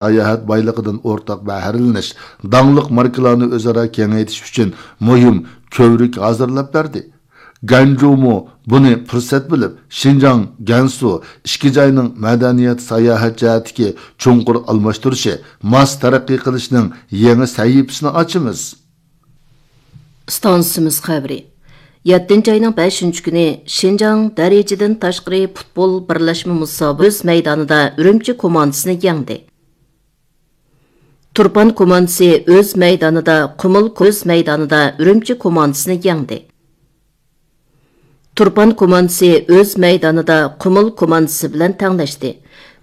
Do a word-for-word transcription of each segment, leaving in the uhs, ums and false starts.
ساياھەت بايلىقىدىن ئورتاق بەھرىلىنىش، داڭلىق ماركىلارنى ئۆزئارا كېڭەيتىش ئۈچۈن مۇھىم كۆۋرۈك ھازىرلاپ بەردى. گەنجۇمۇ بۇنى پۇرسەت بىلىپ، شىنجاڭ، گەنسۇ ئىككى جاينىڭ مەدەنىيەت، ساياھەت جەھەتتىكى چوڭقۇر ئالماشتۇرۇشى، ماس تەرەققىي قىلىشنىڭ يېڭى سەھىپىسىنى ئاچىمىز. ئىستانسىمىز خەۋىرى. يەتتىنچى ئاينىڭ بەشىنچى كۈنى شىنجاڭ دەرىجىدىن تاشقىرى پۇتبول بىرلەشمە مۇسابىقىسى ئۆز مەيدانىدا ئۈرۈمچى كوماندىسىنى يەڭدى. تۇرپان كوماندىسى ئۆز مەيدانىدا قۇمۇل، ئۆز مەيدانىدا ئۈرۈمچى كوماندىسىنى يەڭدى. تۇرپان كوماندىسى ئۆز مەيدانىدا قۇمۇل كوماندىسى بىلەن تەڭلەشتى.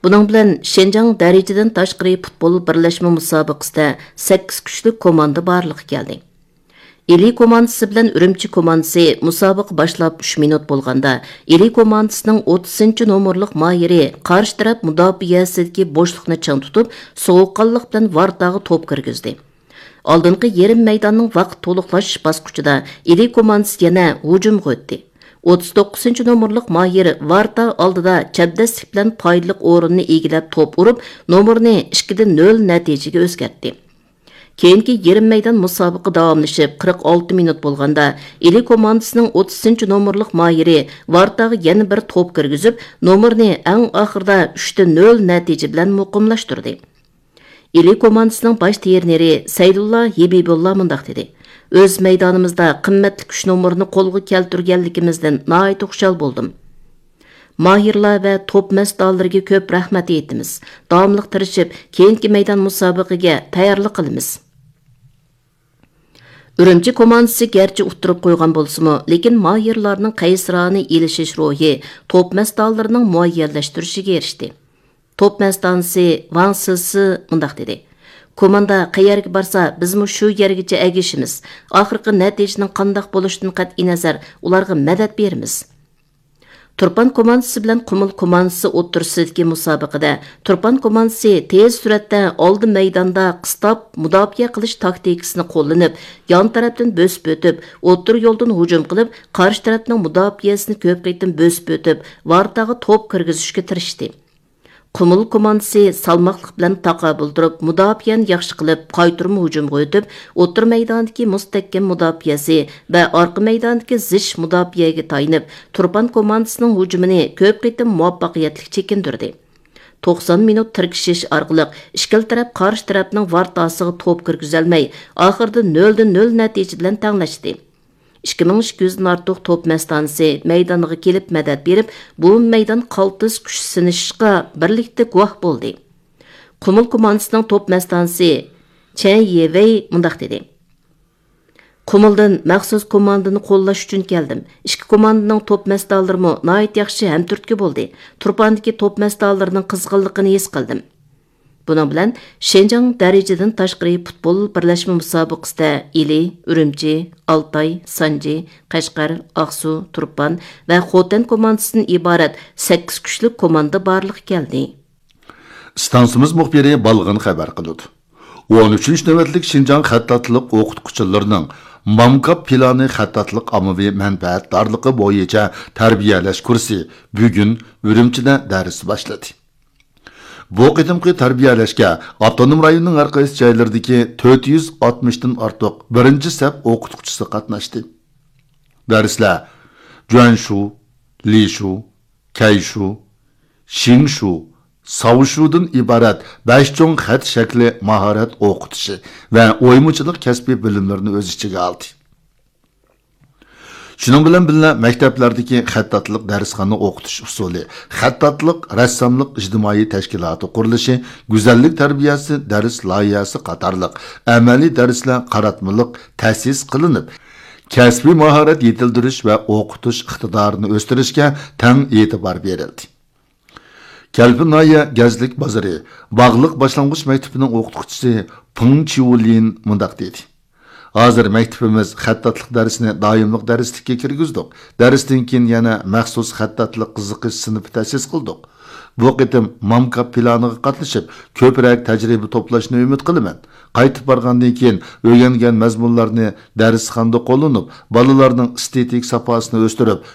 بۇنىڭ بىلەن شىنجاڭ دەرىجىدىن تاشقىرى پۇتبول بىرلەشمە مۇسابىقىسىدە سەككىز كۈچلۈك كوماندا بارلىققا كەلدى. ئىلى كوماندىسى بىلەن ئۈرۈمچى كوماندىسى مۇسابىقە باشلاپ ئۈچ مىنۇت بولغاندا، ئىلى كوماندىسىنىڭ ئوتتۇزىنچى نومۇرلۇق ماھىرى قارشى تەرەپ مۇداپىئەسىدىكى بوشلۇقنى چىڭ تۇتۇپ، سوغۇققانلىق بىلەن ۋارتاغا توپ كىرگۈزدى. ئالدىنقى يېرىم مەيداننىڭ ۋاقىت تولۇقلاش باسقۇچىدا ئىلى كوماندىسى يەنە ھۇجۇمغا ئۆتتى. ئوتتۇز توققۇزىنچى نومۇرلۇق ماھىر ۋارتا ئالدىدا چەبدەسلىك بىلەن پايدىلىق ئورۇننى ئىگىلەپ توپ ئۇرۇپ، نومۇرنى ئىككىدە نۆل نەتىجىگە ئۆزگەرتتى. كېيىنكى يېرىم مەيدان مۇسابىقە داۋاملىشىپ، قىرىق ئالتە مىنۇت بولغاندا، ئىلى كوماندىسىنىڭ ئوتتۇزىنچى نومۇرلۇق ماھىرى ۋارتاغا يەنە بىر توپ كىرگۈزۈپ، نومۇرنى ئەڭ ئاخىرىدا ئۈچتە نۆل نەتىجە بىلەن مۇقىملاشتۇردى. ئىلى كوماندىسىنىڭ باش ترېنېرى سەيدۇللا ھېبىبۇللا مۇنداق دېدى: «ئۆز مەيدانىمىزدا قىممەتلىك ئۈچ نومۇرنى قولغا كەلتۈرگەنلىكىمىزدىن ناھايىتى خۇشال بولدۇم. ماھىرلار ۋە توپ مەستانىلىرىگە كۆپ رەھمەت ئېيتىمىز. داۋاملىق تىرىشىپ، كېيىنكى مەيدان مۇسابىقىگە تەييارلىق قىلىمىز.» ئۈرۈمچى كوماندىسى گەرچە ئۇتتۇرۇپ قويغان بولسىمۇ، لېكىن ماھىرلارنىڭ قەيسىرانە ئېلىشىش روھى توپ مەستانىلىرىنىڭ مۇئەييەنلەشتۈرۈشىگە ئېرىشتى. توپ مەستانىسى ۋاڭ سىسى مۇنداق دېدى: «كوماندا قەيەرگە بارسا، بىزمۇ شۇ يەرگىچە ئەگىشىمىز. ئاخىرقى نەتىجىنىڭ قانداق بولۇشىدىن قەتئىينەزەر، ئۇلارغا مەدەت بېرىمىز.» تۇرپان كوماندىسى بىلەن قۇمۇل كوماندىسى ئوتتۇرىسىدىكى مۇسابىقىدە تۇرپان كوماندىسى تېز سۈرئەتتە ئالدى مەيداندا قىستاپ مۇداپىئە قىلىش تاكتىكىسىنى قوللىنىپ، يان تەرەپتىن بۆسۈپ ئۆتۈپ، ئوتتۇرا يولدىن ھۇجۇم قىلىپ، قارشى تەرەپنىڭ مۇداپىئەسىنى كۆپ قېتىم بۆسۈپ ئۆتۈپ، ۋارتاغا توپ كىرگۈزۈشكە تىرىشتى. قۇمۇل كوماندىسى سالماقلىق بىلەن تاقابىل تۇرۇپ، مۇداپىئەنى ياخشى قىلىپ، قايتۇرما ھۇجۇمغا ئۆتۈپ، ئوتتۇرا مەيداندىكى مۇستەھكەم مۇداپىئەسى ۋە ئارقا مەيداندىكى زىچ مۇداپىئەگە تايىنىپ، تۇرپان كوماندىسىنىڭ ھۇجۇمىنى كۆپ قېتىم مۇۋەپپەقىيەتلىك چېكىندۈردى. توقسان مىنۇت تىركىشىش ئارقىلىق ئىككىلا تەرەپ قارشى تەرەپنىڭ ۋارتاسىغا توپ كىرگۈزەلمەي، ئاخىرىدا نۆلدە نۆل نەتىجە بىلەن تەڭلەشتى. ئىككى مىڭ ئىككى يۈزدىن ئارتۇق توپ مەستانىسى مەيدانغا كېلىپ مەدەت بېرىپ، بۇ مەيدان قالتىس كۈچ سىنىشىشقا بىرلىكتە گۇۋاھ بولدى. قۇمۇل كوماندىسىنىڭ توپ مەستانىسى چەن يېۋېي مۇنداق دېدى: «قۇمۇلدىن مەخسۇس كوماندىنى قوللاش ئۈچۈن كەلدىم. ئىككى كوماندىنىڭ توپ مەستانىلىرىمۇ ناھايىتى ياخشى ھەمتۈرتكە بولدى. تۇرپاندىكى توپ مەستانىلىرىنىڭ قىزغىنلىقىنى ھېس قىلدىم.» بۇنىڭ بىلەن شىنجاڭ دەرىجىدىن تاشقىرى پۇتبول بىرلەشمە مۇسابىقىسىدە ئىلى، ئۈرۈمچى، ئالتاي، سانجى، قەشقەر، ئاقسۇ، تۇرپان ۋە خوتەن كوماندىسىدىن ئىبارەت سەككىز كۈچلۈك كوماندا بارلىققا كەلدى. ئىستانسىمىز مۇخبىرى بالغىن خەۋەر قىلىدۇ. ئون ئۈچىنچى نۆۋەتلىك شىنجاڭ خەتتاتلىق ئوقۇتقۇچىلىرىنىڭ مامكاپ پىلانى خەتتاتلىق ئاممىۋى مەنپەئەتدارلىقى بويىچە تەربىيەلەش كۇرسى بۈگۈن ئۈرۈمچىدە دەرس باشلىدى. بۇ قېتىمقى تەربىيەلەشكە ئاپتونوم رايوننىڭ ھەر قايسى جايلىرىدىكى تۆت يۈز ئاتمىشتىن ئارتۇق بىرىنچى سەپ ئوقۇتقۇچىسى قاتناشتى. دەرسلەر جۈەنشۇ، لىشۇ، كەيشۇ، شىڭشۇ، ساۋشۇدىن ئىبارەت بەش چوڭ خەت شەكلى ماھارەت ئوقۇتۇشى ۋە ئويمىچىلىق كەسپىي بىلىملىرىنى ئۆز ئىچىگە ئالدى. شۇنىڭ بىلەن بىللە، مەكتەپلەردىكى خەتتاتلىق دەرسخانا ئوقۇتۇش ئۇسۇلى، خەتتاتلىق، رەسساملىق ئىجتىمائىي تەشكىلاتى قۇرۇلۇشى، گۈزەللىك تەربىيەسى دەرس لايىھەسى قاتارلىق ئەمەلىي دەرسلەر قاراتمىلىق تەسىس قىلىنىپ، كەسپىي ماھارەت يېتىلدۈرۈش ۋە ئوقۇتۇش ئىقتىدارىنى ئۆستۈرۈشكە تەڭ ئېتىبار بېرىلدى. كەلپىن ناھىيە گەزلىك بازىرى باغلىق باشلانغۇچ مەكتىپىنىڭ ئوقۇتقۇچىسى پېڭ چيۇلىن مۇنداق دېدى: «ھازىر مەكتىپىمىز خەتتاتلىق دەرسىنى دائىملىق دەرسلىككە كىرگۈزدۇق. دەرستىن كېيىن يەنە مەخسۇس خەتتاتلىق قىزىقىش سىنىپى تەسىس قىلدۇق. بۇ قېتىم مامكاپ پىلانىغا قاتنىشىپ، كۆپرەك تەجرىبە توپلاشنى ئۈمىد قىلىمەن. قايتىپ بارغاندىن كېيىن ئۆگەنگەن مەزمۇنلارنى دەرسخانىدا قوللىنىپ، بالىلارنىڭ ئېستېتىك ساپاسىنى ئۆستۈرۈپ،